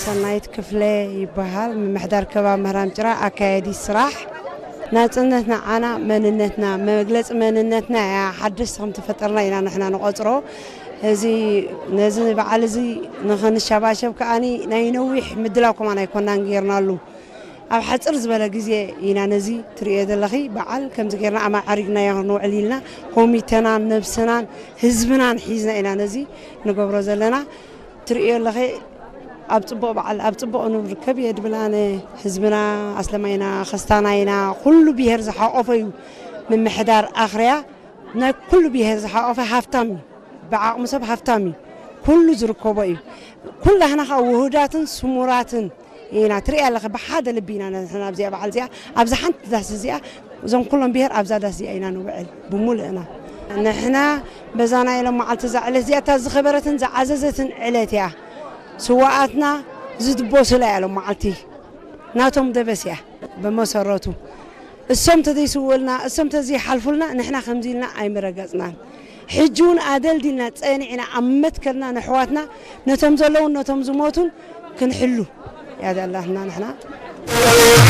ሰናይት ክፍለ ይበሃል። ምምሕዳር ከባቢ ምህራም ጭራ፣ ኣካያዲ ስራሕ። ናጽነት ንዓና መንነትና፣ መግለጺ መንነትና እያ። ሓደሽቲ ከም ተፈጠርና ኢና ንሕና ንቆጽሮ። እዚ፣ ነዚ በዓል እዚ ንኽንሸባሸብ ከኣኒ ናይ ነዊሕ ምድላው ከማን ኣይኮናን ጌርናሉ። ኣብ ሓጽር ዝበለ ግዜ ኢና ነዚ ትርእዮ ዘለኺ በዓል ከምዚ ጌርና ኣማዓሪግናዮ ክንውዕል ኢልና ኮሚተናን ነብስናን ህዝብናን ሒዝና ኢና ነዚ ንገብሮ ዘለና። ትርእዮ ኣለኺ ኣብ ጽቡቕ በዓል ኣብ ጽቡቕ ንርከብ እየ ድብል ኣነ። ህዝብና ኣስለማይና፣ ከስታናይና፣ ኩሉ ብሄር ዝሓቆፈ እዩ። ምምሕዳር ኣኽርያ ናይ ኩሉ ብሄር ዝሓቆፈ ሃፍታም እዩ። ብዓቕሚ ሰብ ሃፍታም እዩ። ኩሉ ዝርከቦ እዩ። ኩላህና ከዓ ውሁዳትን ስሙራትን ኢና። ትርእያ ኣለኺ ብሓደ ልቢ ኢና ንሕና ኣብዚኣ በዓል እዚኣ፣ ኣብዛ ሓንቲ ዳስ እዚኣ፣ እዞም ኩሎም ብሄር ኣብዛ ዳስ እዚኣ ኢና ንውዕል ብሙሉእና። ንሕና በዛ ናይ ሎም መዓልቲ እዛ ዕለት እዚኣ እታ ዝኸበረትን ዝዓዘዘትን ዕለት እያ። ስዋኣትና ዝድበሱላ እያ ሎም መዓልቲ ናቶም ደበስ እያ። ብመሰረቱ እሶም ተዘይስውእልና፣ እሶም ተዘይሓልፉልና ንሕና ከምዚ ኢልና ኣይምረገጽናን። ሕጂ እውን ኣደልዲልና ጸኒዕና ኣብ መትከልና ንሕዋትና ነቶም ዘለውን ነቶም ዝሞቱን ክንሕሉ እያ ዘላትና ንሕና።